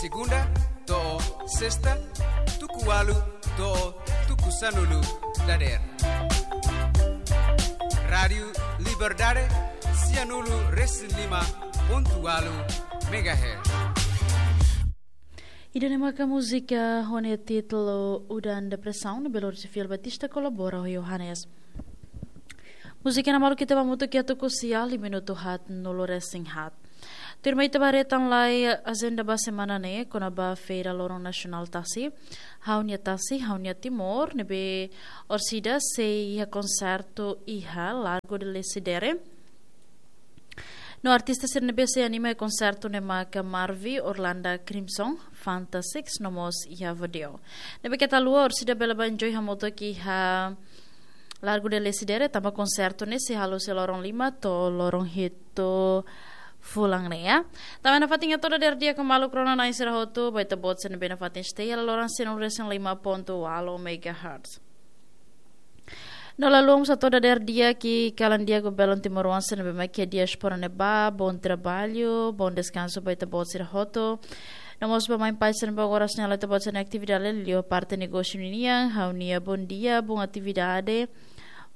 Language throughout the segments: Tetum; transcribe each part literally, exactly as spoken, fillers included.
Segunda to'o sesta, tuku ualu to'o tuku sanulu dadeer. Rádiu Liberdade, sianulu resin lima pontu ualu megahertz. Ida-ne'e maka múzika ho nia títulu Udan Depresaun, ne'ebé lori xefe Batista kolabora ho Johannes. Múzika ne'e malu ita ba hamutuk iha tuku sia, minutu haatnulu resin haat. Tuirmai ita ba haree tan lai ajenda ba semana ne'e, kona-ba Feira Loron Nasionál Tasi, Ha'u-nia Tasi, Ha'u-nia Timor, ne'ebé orsida sei iha konsertu iha Largo de Lecidere. No artista sira ne'ebé sei anima iha konsertu ne'e maka Marvi, Orlanda Crimson, Fanta Six, no mós iha Vodeo. Ne'ebé keta haluha, orsida bele ba enjoy hamutuk iha Largo de Lecidere, tanba konsertu ne'e sei halo husi loron lima to'o loron hitu fulan ne'e, ya. Tanba nafatin hato'o dadeer di'ak ho maluk rona-na'in sira hotu, ba ita-boot sira ne'ebé nafatin stay iha laloran sianulu resin lima pontu ualu megahertz. No la haluha mós hato'o dadeer di'ak ho kalan di'ak ba belun timoroan sira ne'ebé mak iha diáspora ne'ebá, bom trabalho, bom descanso ba ita-boot sira hotu. No mós ba mãe pai sira ne'ebé agora sei halo ita-boot sira-nia atividade liuliu parte negósiu ninian, ha'u-nia bom dia, bom atividade,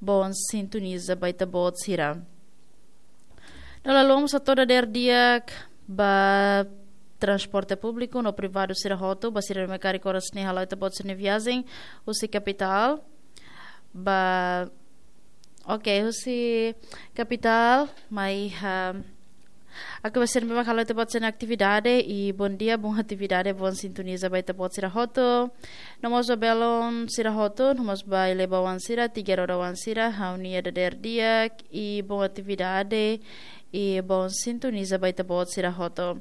bom sintoniza ba ita-boot sira. No la haluha mós hato'o dadeer di'ak ba transporte públiku no privadu sira hotu, ba sira ne'ebé karik oras ne'e hala'o ita-boot sira-nia viajen husi kapitál ba, oke, husi kapitál mai, ah, atu ba sira ne'ebé mak hala'o ita-boot sira-nia atividade, i bom dia, bom atividade, bom sintoniza ba ita-boot sira hotu. No mós ba belun sira hotu, no mós ba eleba-oan sira, tiga roda-oan sira, ha'u-nia dadeer di'ak, i bom atividade, i bom sintoniza ba ita-boot sira hotu.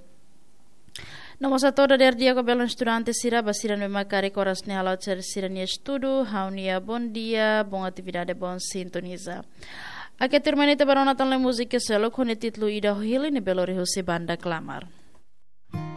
No mós hato'o dadeer di'ak ho belun estudante sira, ba sira ne'ebé mak karik oras ne'e hala'o sira, sira-nia estudu, ha'u-nia bom dia, bom atividade, bom sintoniza. Oke, tuirmai ita ba rona tan lai múzika seluk ho nia títulu Ida ho Hili, ne'ebé lori husi banda Klamar.